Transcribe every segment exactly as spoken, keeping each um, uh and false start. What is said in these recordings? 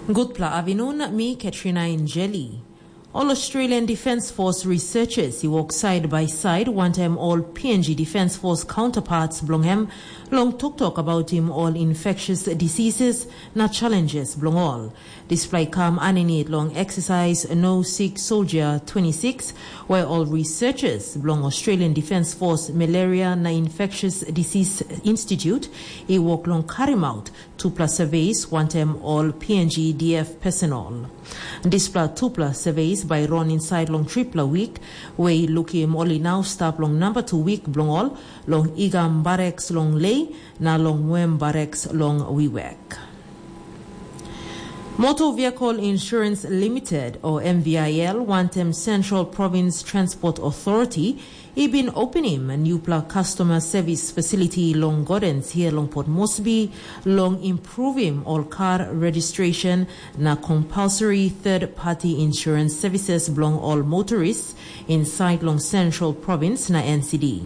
Gutpela avinun, mi Katrina Injeli. Ol Australian Defence Force researchers i wok side by side wantaim ol P N G Defence Force counterparts bilong em long toktok about im ol infectious diseases na challenges bilong ol. Dispela i kam aninit long exercise No Sick Soldier twenty-six, where ol researchers bilong Australian Defence Force Malaria na Infectious Disease Institute i wok long karim out tupela surveys wantaim ol P N G D F personal. Dispela tupela surveys bai i ron insait long tripela wik, we i lukim ol i nau stap long namba tu wik bilong ol long Igam Barracks long Lei na long Wem Barracks long Wiwek. Motor Vehicle Insurance Limited, o M V I L, wantaim Central Province Transport Authority, i bin openim nupela customer service facility long Gordons hia long Port Moresby, long improvim ol kar registration na compulsory third party insurance services bilong ol motorists inside long Central Province na N C D.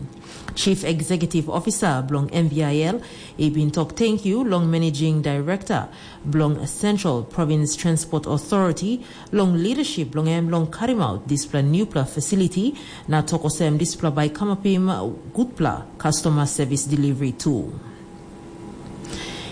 Chief Executive Officer bilong M V I L i bin tok tenkyu long Managing Director bilong Central Province Transport Authority long leadership bilong em long karim out dispela nupela facility, na tok olsem dispela bai kamapim gutpela customer service delivery tu.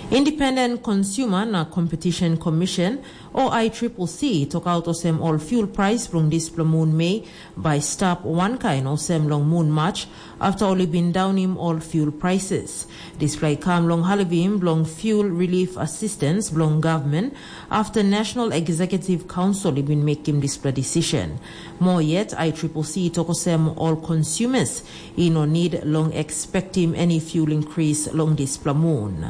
Independent Consumer na Competition Commission, o I triple C, tok out olsem ol fuel price bilong dispela mun Mei bai stap wankain olsem long mun Mac, afta ol i bin daunim ol fuel prices. Dispela i kam long halivim bilong fuel relief assistance bilong gavman, afta National Executive Council i bin mekim dispela decision. Moa yet, I triple C tok olsem ol consumers i no need long expectim any fuel increase long dispela mun.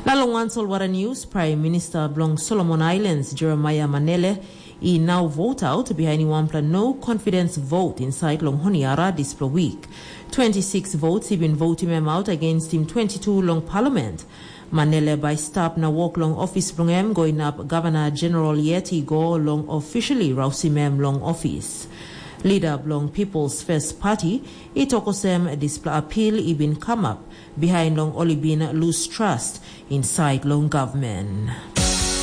Na long wan solwara news, Prime Minister bilong Solomon Islands, Jeremiah Manele, i nau vote out bihainim wanpela no confidence vote insait long Honiara dispela wik. Twenty-six votes i bin votim em out against him twenty-two long parliament. Manele bai stap na wok long ofis bilong em go inap gavana jeneral yet i go long officially rausim em long ofis. Lida bilong People's First Party i tok olsem dispela apil i bin kamap bihain long ol i bin lus trust insait long gavman.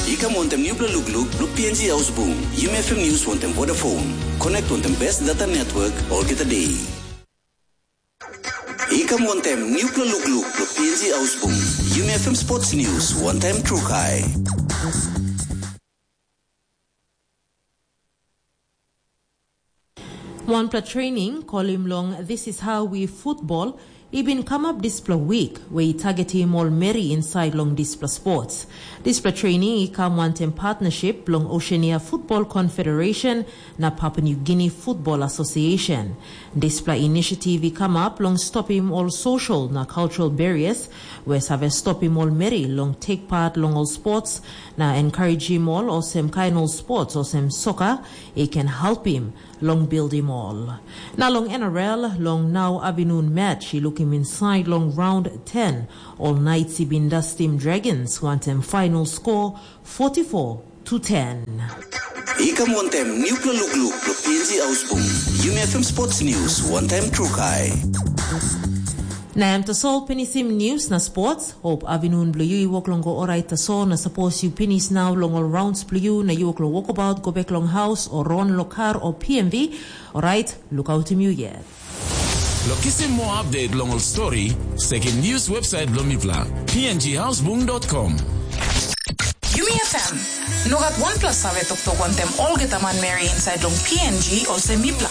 I kam wantaim nupela lukluk bilong P N G Haus Bung, Yumi F M News wantaim Vodafone. Connect wantaim best data network olgeta day. I kam wantaim nupela lukluk bilong P N G Haus Bung, Yumi F M Sports News wantaim Trukai. Wanpela training kolim long This is how we football i bin kamap dispela wik, we i targetim ol meri insait long dispela sports. Dispela training i kam wantaim partnership bilong Oceania Football Confederation na Papua New Guinea Football Association. Dispela inisiativ i kamap long stopim ol social na cultural barriers we save stopim ol meri long tek pat long ol sports, na encouragim ol olsem kain ol sports olsem soka i ken helpim long bildim ol. Na long N R L, long nau avinun match i lukim insait long raun ten, ol Knights i bin dastim Dragons wantaim final score forty-four to ten. I kam wantaim nupela lukluk bilong P N G Haus Bung, Yumi F M Sports News wantaim Trukai. Na em tasol pinisim news na sports. Hope avinun bilong yu i wok long go orait tasol, na sapos yu pinis nau long ol rounds bilong yu na yu wok long wokabaut go bek long haus o ron long kar o P M V, orait lukautim yu yet. Long kisim moa update long ol stori, sekim news website bilong mipela, P N G Hausbung dot com. Yumi F M, no gat wanpela save toktok wantaim olgeta manmeri insait long P N G olsem mipela.